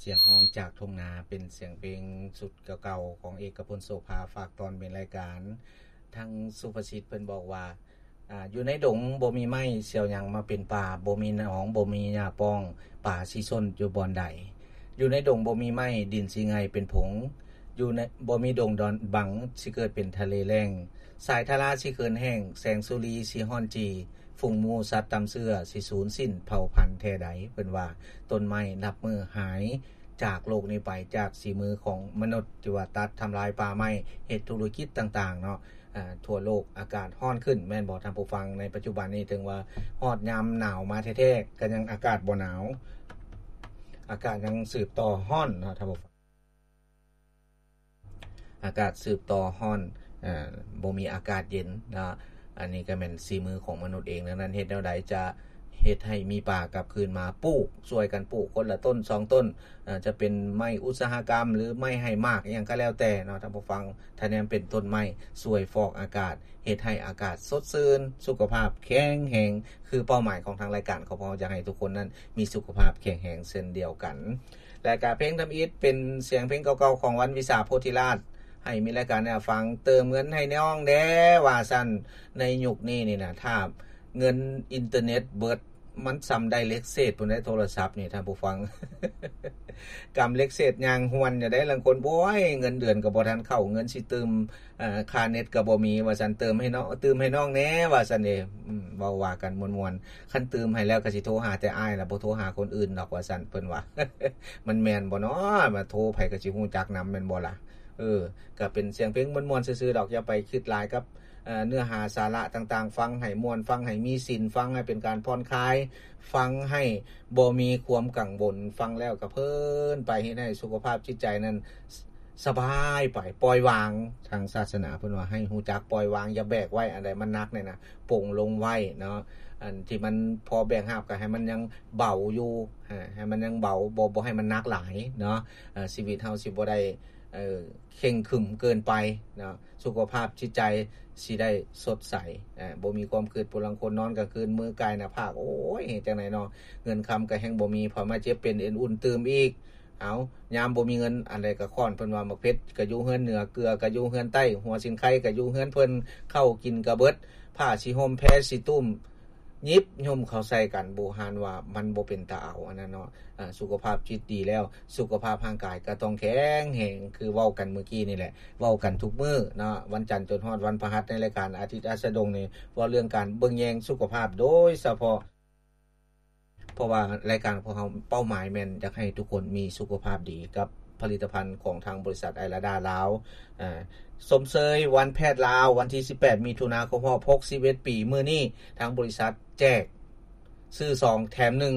ສຽງຮ້ອງຈາກທົ່ງນາ ເປັນສຽງເພງຊຸດເກົ່າໆ ຂອງເອກະພົນ ໂສພາ ຝາກຕອນເປັນລາຍການ. ທາງສຸພາສິດເພິ່ນບອກວ່າ ອາ ຢູ່ໃນດົງບໍ່ມີໄມ້ ຊິເອົາຫຍັງມາເປັນປ່າ, ບໍ່ມີໜອງ ບໍ່ມີຫຍ້າປ້ອງ, ປາຊິຊົນຢູ່ບ່ອນໃດ? ຢູ່ໃນດົງບໍ່ມີໄມ້ ດິນຊິໄງ່ເປັນຜົງ, ຢູ່ໃນ ບໍ່ມີດົງດອນບັງ ຊິເກີດເປັນທະເລແລ້ງ, ສາຍທາລາຊິເຂີນແຫ້ງ, ແສງສຸລີຊິຮ້ອນຈີ່, ຝູງໝູສັດຕ່ຳເຊື້ອຊິສູນສິ້ນເຜົ່າພັນແທ້ໃດ? ເພິ່ນວ່າຕົ້ນໄມ້ນັບມື້ຫາຍຈາກໂລກນີ້ໄປ ຈາກສີມືຂອງມະນຸດທີ່ວ່າຕັດທຳລາຍປ່າໄມ້ ເຮັດທຸລະກິດຕ່າງໆເນາະ ອາ ທົ່ວໂລກອາກາດຮ້ອນຂຶ້ນ ແມ່ນບໍ່ທ່ານຜູ້ຟັງ? ໃນປັດຈຸບັນນີ້ເຖິງວ່າຮອດຍາມໜາວມາແທ້ໆ ກໍຍັງອາກາດບໍ່ໜາວ ອາກາດຍັງສືບຕໍ່ຮ້ອນເນາະທ່ານຜູ້ຟັງ. ອາກາດສືບຕໍ່ຮ້ອນ ເອີ ບໍ່ມີອາກາດເຢັນເນາະ. ອັນນີ້ກໍແມ່ນສີມືຂອງມະນຸດເອງ. ດັ່ງນັ້ນເຮັດແນວໃດຈະເຮັດໃຫ້ມີປ່າກັບຄືນມາ? ປູກ ຊ່ວຍກັນປູກຄົນລະຕົ້ນສອງຕົ້ນ ເອີ ຈະເປັນໄມ້ອຸດສາຫະກຳ ຫຼື ໄມ້ໃຫ້ໝາກ ອີ່ຫຍັງກໍແລ້ວແຕ່ເນາະທ່ານຜູ້ຟັງ. ຖ້າແນມເປັນຕົ້ນໄມ້ ຊ່ວຍຟອກອາກາດ ເຮັດໃຫ້ອາກາດສົດຊື່ນ ສຸຂະພາບແຂງແຮງ ຄືເປົ້າໝາຍຂອງທາງລາຍການຂອງພວກເຮົາ ຢາກໃຫ້ທຸກຄົນນັ້ນມີສຸຂະພາບແຂງແຮງເຊັ່ນດຽວກັນ. ແລະກະເພງທຳອິດເປັນສຽງເພງເກົ່າໆຂອງວັນວິສາໂພທິລາດ ໃຫ້ມີລາຍການແນວຟັງ ເຕີມເງິນໃຫ້ນ້ອງແດ່ວ່າຊັ້ນ. ໃນຍຸກນີ້ນີ້ນະ ຖ້າເງິນອິນເຕີເນັດເບິດ ມັນສ່ຳໄດ້ເຫຼັກເສດພຸ້ນໃດ໋ ໂທລະສັບນີ້ທ່ານຜູ້ຟັງ. ກຳເຫຼັກເສດຍ່າງຫວນຢູ່ໃດ໋ ລາງຄົນ ໂອ້ຍ ເງິນເດືອນກໍບໍ່ທັນເຂົ້າ ເງິນຊິຕື່ມ ເອີ ຄ່າເນັດກໍບໍ່ມີວ່າຊັ້ນ ເຕີມໃຫ້ນ້ອງ ຕື່ມໃຫ້ນ້ອງແດ່ວ່າຊັ້ນເດ. ອືມ ເວົ້າວ່າກັນມ່ວນໆ ຄັນຕື່ມໃຫ້ແລ້ວກໍຊິໂທຫາແຕ່ອ້າຍລະ ບໍ່ໂທຫາຄົນອື່ນດອກວ່າຊັ້ນ ເພິ່ນວ່າ. ມັນແມ່ນບໍ່ເນາະ? ມາໂທໃຜກໍຊິຮູ້ຈັກນຳແມ່ນບໍ່ລະ? ເອີ ກໍເປັນສຽງເພງມ່ວນໆຊື່ໆດອກ ຢ່າໄປຄິດຫຼາຍກັບ ເອີ ເນື້ອຫາສາລະຕ່າງໆ. ຟັງໃຫ້ມ່ວນ ຟັງໃຫ້ມີສິນ ຟັງໃຫ້ເປັນການຜ່ອນຄາຍ ຟັງໃຫ້ບໍ່ມີຄວາມກັງວົນ ຟັງແລ້ວກໍເພີນໄປ ເຮັດໃຫ້ສຸຂະພາບຈິດໃຈນັ້ນ ສະບາຍໄປ ປ່ອຍວາງ. ທາງສາສະໜາເພິ່ນວ່າໃຫ້ຮູ້ຈັກປ່ອຍວາງ ຢ່າແບກໄວ້ ອັນໃດມັນໜັກນີ້ນະ ປົງລົງໄວ້ເນາະ. ອັນທີ່ມັນພໍແບກຫາບກໍໃຫ້ມັນຍັງເບົາຢູ່ ໃຫ້ມັນຍັງເບົາ ບໍ່ ບໍ່ໃຫ້ມັນໜັກຫຼາຍເນາະ. ເອີ ຊີວິດເຮົາຊິບໍ່ໄດ້ ເອີ ເຄັ່ງຂຶມເກີນໄປເນາະ. ສຸຂະພາບຈິດໃຈຊິໄດ້ສົດໃສ ເອີ ບໍ່ມີຄວາມຄິດ. ຜູ້ລາງຄົນນອນກາງຄືນມືກາຍໜ້າຜາກ ໂອ້ຍ ເຮັດຈັ່ງໃດເນາະ? ເງິນຄຳກໍແຮ່ງບໍ່ມີ ພໍມາເຈັບເປັນເອັນອຸ່ນຕື່ມອີກ. ເອົາ ຍາມບໍ່ມີເງິນ ອັນໃດກະຄ້ອນ ເພິ່ນວ່າໝາກເຜັດກະຢູ່ເຮືອນເໜືອ ເກືອກະຢູ່ເຮືອນໃຕ້ ຫົວສີນໄຄກະຢູ່ເຮືອນເພິ່ນ ເຂົ້າກິນກະເບິດ ຜ້າສີຫົ່ມແພສີຕຸ້ມ ຫຍິບຫຍຸ້ມເຂົ້າໃສ່ກັນ ບູຮານວ່າມັນບໍ່ເປັນຕາເອົາ ອັນນັ້ນເນາະ. ອາ ສຸຂະພາບຈິດດີແລ້ວ ສຸຂະພາບຮ່າງກາຍກະຕ້ອງແຂງແຮງ ຄືເວົ້າກັນມື້ກີ້ນີ້ແຫຼະ ເວົ້າກັນທຸກມື້ເນາະ ວັນຈັນຈົນຮອດວັນພະຫັດ ໃນລາຍການອາທິດອັດສະດົງນີ້ ເວົ້າເລື່ອງການເບິ່ງແຍງສຸຂະພາບໂດຍສະເພາະ ເພາະວ່າລາຍການຂອງເຮົາເປົ້າໝາຍແມ່ນຢາກໃຫ້ທຸກຄົນມີສຸຂະພາບດີກັບຜະລິດຕະພັນຂອງທາງບໍລິສັດໄອລາດາລາວ. ເອີ ຊົມເຊີຍວັນແພດລາວ ວັນທີສິບແປດ ມິຖຸນາ ຄົບຮອບຫົກສິບເອັດປີ ມື້ນີ້ທາງບໍລິສັດແຈກ ຊື້ສອງແຖມໜຶ່ງ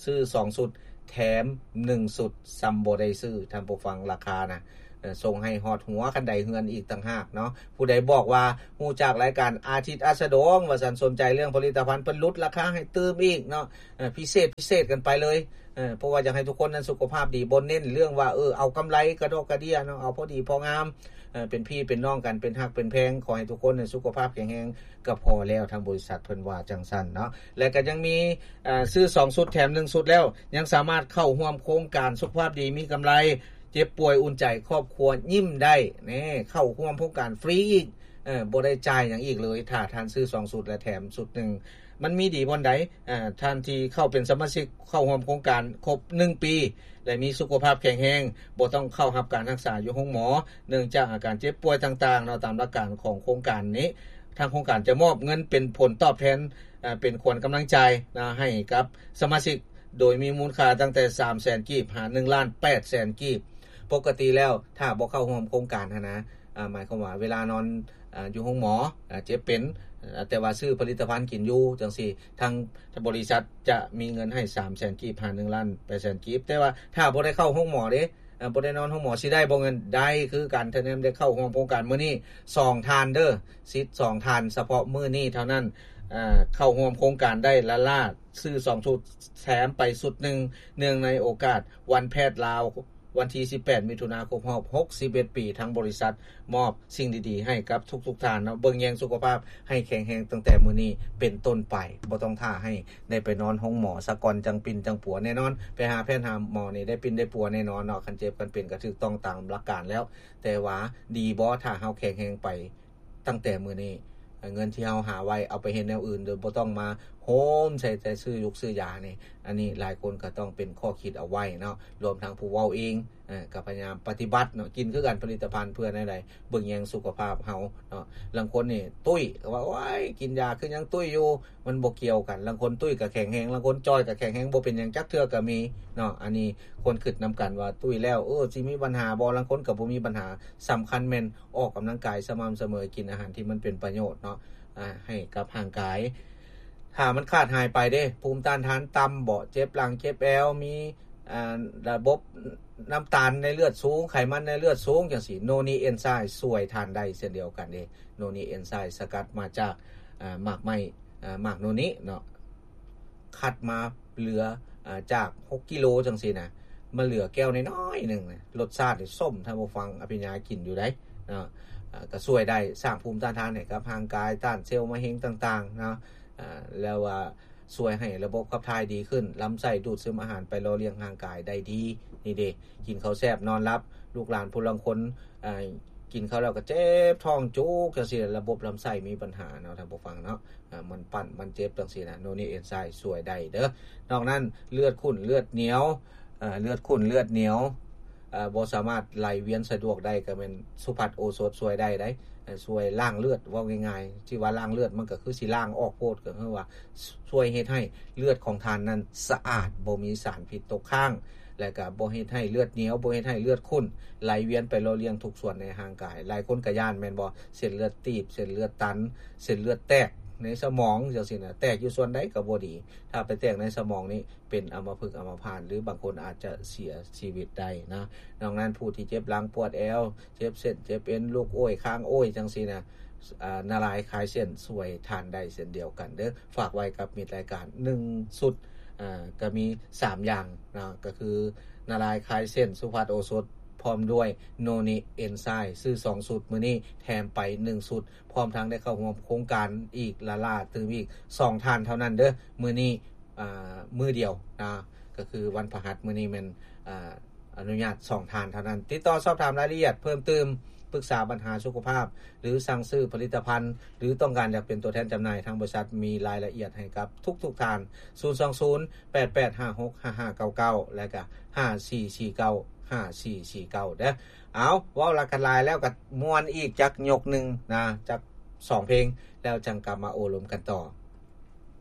ຊື້ສອງຊຸດແຖມໜຶ່ງຊຸດ ສ່ຳບໍ່ໄດ້ຊື້ ທ່ານຜູ້ຟັງ ລາຄານະ ເອີ ສົ່ງໃຫ້ຮອດຫົວຄັນໄດເຮືອນອີກຕ່າງຫາກເນາະ. ຜູ້ໃດບອກວ່າຮູ້ຈັກລາຍການອາທິດອັດສະດົງວ່າຊັ້ນ ສົນໃຈເລື່ອງຜະລິດຕະພັນ ເພິ່ນຫຼຸດລາຄາໃຫ້ຕື່ມອີກເນາະ ເອີ ພິເສດ ພິເສດກັນໄປເລີຍ ເອີ ເພາະວ່າຢາກໃຫ້ທຸກຄົນນັ້ນສຸຂະພາບດີ ບໍ່ເນັ້ນເລື່ອງວ່າ ເອີ ເອົາກຳໄລກະດອກກະເດຍເນາະ ເອົາພໍດີພໍງາມ ເອີ ເປັນພີ່ເປັນນ້ອງກັນ ເປັນຮັກເປັນແພງ ຂໍໃຫ້ທຸກຄົນນັ້ນສຸຂະພາບແຂງແຮງກໍພໍແລ້ວ ທາງບໍລິສັດເພິ່ນວ່າຈັ່ງຊັ້ນເນາະ. ແລະກໍຍັງມີ ເອີ ຊື້ສອງຊຸດແຖມໜຶ່ງຊຸດແລ້ວ ຍັງສາມາດເຂົ້າຮ່ວມໂຄງການສຸຂະພາບດີມີກຳໄລ ເຈັບປ່ວຍອຸ່ນໃຈ ຄອບຄົວຍິ້ມໄດ້ ແນ່ ເຂົ້າຮ່ວມໂຄງການຟຣີອີກ ເອີ ບໍ່ໄດ້ຈ່າຍຫຍັງອີກເລີຍ ຖ້າທ່ານຊື້ສອງຊຸດ ແລະແຖມຊຸດໜຶ່ງ. ມັນມີດີບ່ອນໃດ? ເອີ ທ່ານທີ່ເຂົ້າເປັນສະມາຊິກ ເຂົ້າຮ່ວມໂຄງການຄົບໜຶ່ງປີ ແລະມີສຸຂະພາບແຂງແຮງ ບໍ່ຕ້ອງເຂົ້າຮັບການຮັກສາຢູ່ໂຮງໝໍ ເນື່ອງຈາກອາການເຈັບປ່ວຍຕ່າງໆເນາະ. ຕາມຫຼັກການຂອງໂຄງການນີ້ ທາງໂຄງການຈະມອບເງິນເປັນຜົນຕອບແທນ ເອີ ເປັນຂວັນກຳລັງໃຈນະ ໃຫ້ກັບສະມາຊິກ ໂດຍມີມູນຄ່າຕັ້ງແຕ່ສາມແສນກີບ ຫາໜຶ່ງລ້ານແປດແສນກີບ. ປົກກະຕິແລ້ວ ຖ້າບໍ່ເຂົ້າຮ່ວມໂຄງການຫັ້ນນະ ອາ ໝາຍຄວາມວ່າເວລານອນ ອາ ຢູ່ໂຮງໝໍ ອາ ເຈັບເປັນ ອາ ແຕ່ວ່າຊື້ຜະລິດຕະພັນກິນຢູ່ຈັ່ງຊີ້ ທາງ ທາງບໍລິສັດຈະມີເງິນໃຫ້ສາມແສນກີບ ຫາໜຶ່ງລ້ານແປດແສນກີບ. ແຕ່ວ່າຖ້າບໍ່ໄດ້ເຂົ້າໂຮງໝໍເດ້ ອາ ບໍ່ໄດ້ນອນໂຮງໝໍ ຊິໄດ້ບໍ່ເງິນ? ໄດ້ຄືກັນ ຖ້າແນມໄດ້ເຂົ້າຮ່ວມໂຄງການມື້ນີ້ ສອງທ່ານເດີ ສິດສອງທ່ານ ສະເພາະມື້ນີ້ເທົ່ານັ້ນ ອາ ເຂົ້າຮ່ວມໂຄງການໄດ້ລ້າໆ ຊື້ສອງຊຸດ ແຖມໄປຊຸດໜຶ່ງ ເນື່ອງໃນໂອກາດວັນແພດລາວ ວັນທີສິບແປດ ມິຖຸນາ ຄົບຮອບຫົກສິບເອັດປີ ທາງບໍລິສັດມອບສິ່ງດີໆໃຫ້ກັບທຸກໆທ່ານເນາະ. ເບິ່ງແຍງສຸຂະພາບໃຫ້ແຂງແຮງຕັ້ງແຕ່ມື້ນີ້ເປັນຕົ້ນໄປ, ບໍ່ຕ້ອງຖ້າໃຫ້ໄດ້ໄປນອນໂຮງໝໍສາກ່ອນ ຈັ່ງປິ່ນຈັ່ງປົວແນ່ນອນ. ໄປຫາແພດຫາໝໍນີ້ໄດ້ປິ່ນໄດ້ປົວແນ່ນອນເນາະ, ຄັນເຈັບຄັນເປັນກໍຖືກຕ້ອງຕາມຫຼັກການແລ້ວ. ແຕ່ວ່າດີບໍ່ ຖ້າເຮົາແຂງແຮງໄປ ຕັ້ງແຕ່ມື້ນີ້ ເງິນທີ່ເຮົາຫາໄວ້ເອົາໄປເຮັດແນວອື່ນ ໂດຍບໍ່ຕ້ອງມາໂຮມໃສ່ແຕ່ຊື້ຢູກຊື້ຢານີ້. ອັນນີ້ຫຼາຍຄົນກໍຕ້ອງເປັນຂໍ້ຄິດເອົາໄວ້ເນາະ, ລວມທັງຜູ້ເວົ້າເອງ ເອີ ກໍພະຍາຍາມປະຕິບັດເນາະ. ກິນຄືກັນ ຜະລິດຕະພັນເພື່ອແນວໃດ ເບິ່ງແຍງສຸຂະພາບເຮົາເນາະ. ລາງຄົນນີ້ຕຸ້ຍ ກໍວ່າ ໂອ້ຍ ກິນຢາຄືຍັງຕຸ້ຍຢູ່, ມັນບໍ່ກ່ຽວກັນ. ລາງຄົນຕຸ້ຍກໍແຂງແຮງ, ລາງຄົນຈ່ອຍກໍແຂງແຮງ, ບໍ່ເປັນຫຍັງຈັກເທື່ອກໍມີເນາະ. ອັນນີ້ຄວນຄິດນຳກັນວ່າ ຕຸ້ຍແລ້ວ ເອີ ຊິມີບັນຫາບໍ່? ລາງຄົນກໍບໍ່ມີບັນຫາ. ສຳຄັນແມ່ນ ອອກກຳລັງກາຍສະໝ່ຳສະເໝີ, ກິນອາຫານທີ່ມັນເປັນປະໂຫຍດເນາະ ອາ ໃຫ້ກັບຮ່າງກາຍ. ຖ້າມັນຂາດຫາຍໄປເດ້ ພູມຕ້ານທານຕ່ຳບໍ ເຈັບຫຼັງເຈັບແອວ ມີ ອາ ລະບົບນ້ຳຕານໃນເລືອດສູງ ໄຂມັນໃນເລືອດສູງ ຈັ່ງຊີ້ ໂນນິເອນໄຊຊ່ວຍທ່ານໄດ້ເຊັ່ນດຽວກັນເດ້. ໂນນິເອນໄຊສະກັດມາຈາກ ອາ ໝາກໄມ້ ອາ ໝາກໂນນິເນາະ. ຄັດມາເຫຼືອ ອາ ຈາກຫົກກິໂລຈັ່ງຊີ້ນະ ມາເຫຼືອແກ້ວນ້ອຍໆໜຶ່ງນະ, ລົດຊາດນີ້ສົ້ມ ທ່ານຜູ້ຟັງ ອະພິນຍາກິນຢູ່ໃດ໋ເນາະ. ອາ ກໍຊ່ວຍໄດ້ສ້າງພູມຕ້ານທານໃຫ້ກັບຮ່າງກາຍ, ຕ້ານເຊວມະເຮັງຕ່າງໆເນາະ. ອາ ແລ້ວວ່າຊ່ວຍໃຫ້ລະບົບຂັບຖ່າຍດີຂຶ້ນ, ລຳໄສ້ດູດຊຶມອາຫານໄປຫຼໍ່ລ້ຽງຮ່າງກາຍໄດ້ດີ. ນີ້ເດ້ ກິນເຂົ້າແຊບນອນຫຼັບ, ລູກຫຼານຜູ້ລາງຄົນ ອາ ກິນເຂົ້າແລ້ວກໍເຈັບທ້ອງຈຸກຈັ່ງຊີ້, ລະບົບລຳໄສ້ມີບັນຫາເນາະ ທ່ານຜູ້ຟັງເນາະ. ອາ ມັນປັ້ນ ມັນເຈັບຈັ່ງຊີ້ນະ, ໂນນິເອນໄຊຊ່ວຍໄດ້ເດີ. ນອກນັ້ນ ເລືອດຂຸ້ນເລືອດໜຽວ ເອີ ເລືອດຂຸ້ນເລືອດໜຽວ ເອີ ບໍ່ສາມາດໄຫຼວຽນສະດວກໄດ້ ກໍແມ່ນສຸພັດໂອສົດຊ່ວຍໄດ້ໄດ໋. ເອີ ຊ່ວຍລ້າງເລືອດ ເວົ້າງ່າຍໆ ທີ່ວ່າລ້າງເລືອດ ມັນກໍຄືຊິລ້າງອອກໂພດ, ກໍຄືວ່າຊ່ວຍເຮັດໃຫ້ເລືອດຂອງທ່ານນັ້ນສະອາດ ບໍ່ມີສານພິດຕົກຄ້າງ ແລະກະບໍ່ເຮັດໃຫ້ເລືອດໜຽວ ບໍ່ເຮັດໃຫ້ເລືອດຂຸ້ນ ໄຫຼວຽນໄປຫຼໍ່ລ້ຽງທຸກສ່ວນໃນຮ່າງກາຍ. ຫຼາຍຄົນກະຢ້ານແມ່ນບໍ່? ເສັ້ນເລືອດຕີບ ເສັ້ນເລືອດຕັນ ເສັ້ນເລືອດແຕກໃນສະໝອງຈັ່ງຊີ້ນະ, ແຕກຢູ່ສ່ວນໃດກະບໍ່ດີ. ຖ້າໄປແຕກໃນສະໝອງນີ້ ເປັນອຳມະພຶກອຳມະພາດ ຫຼືບາງຄົນອາດຈະເສຍຊີວິດໄດ້ນະ. ນອກນັ້ນ ຜູ້ທີ່ເຈັບຫຼັງປວດແອວ ເຈັບເສັ້ນເຈັບເອັນ ລຸກໂອ້ຍຄ້າງໂອ້ຍຈັ່ງຊີ້ນະ, ອາ ນາລາຍຄາຍເສັ້ນຊ່ວຍທ່ານໄດ້ເຊັ່ນດຽວກັນເດີ. ຝາກໄວ້ກັບມິດລາຍການ ໜຶ່ງຊຸດ ອາ ກະມີສາມຢ່າງເນາະ ກະຄືນາລາຍຄາຍເສັ້ນ ສຸພັດໂອສົດ ພ້ອມດ້ວຍໂນນິເອນໄຊ ຊື້ສອງຊຸດ ມື້ນີ້ແຖມໄປໜຶ່ງຊຸດ ພ້ອມທັງໄດ້ເຂົ້າຮ່ວມໂຄງການອີກລ້າໆຕື່ມອີກສອງທ່ານເທົ່ານັ້ນເດີ. ມື້ນີ້ ອາ ມື້ດຽວນະ ກະຄືວັນພະຫັດ ມື້ນີ້ແມ່ນ ອາ ອະນຸຍາດສອງທ່ານເທົ່ານັ້ນ. ຕິດຕໍ່ສອບຖາມລາຍລະອຽດເພີ່ມຕື່ມ, ປຶກສາບັນຫາສຸຂະພາບ ຫຼື ສັ່ງຊື້ຜະລິດຕະພັນ ຫຼື ຕ້ອງການຢາກເປັນຕົວແທນຈຳໜ່າຍ, ທາງບໍລິສັດມີລາຍລະອຽດໃຫ້ກັບທຸກໆທ່ານ. ສູນສອງສູນ ແປດແປດຫ້າຫົກຫ້າຫ້າເກົ້າເກົ້າ ແລະກະ ຫ້າສີ່ສີ່ເກົ້າ ຫ້າສີ່ສີ່ເກົ້າ ເດີ. ເອົາ ເວົ້າລະກັນຫຼາຍແລ້ວ ກະມ່ວນອີກຈັກຍົກໜຶ່ງນະ, ຈັກສອງເພງ ແລ້ວຈັ່ງກັບມາໂອ້ລົມກັນຕໍ່.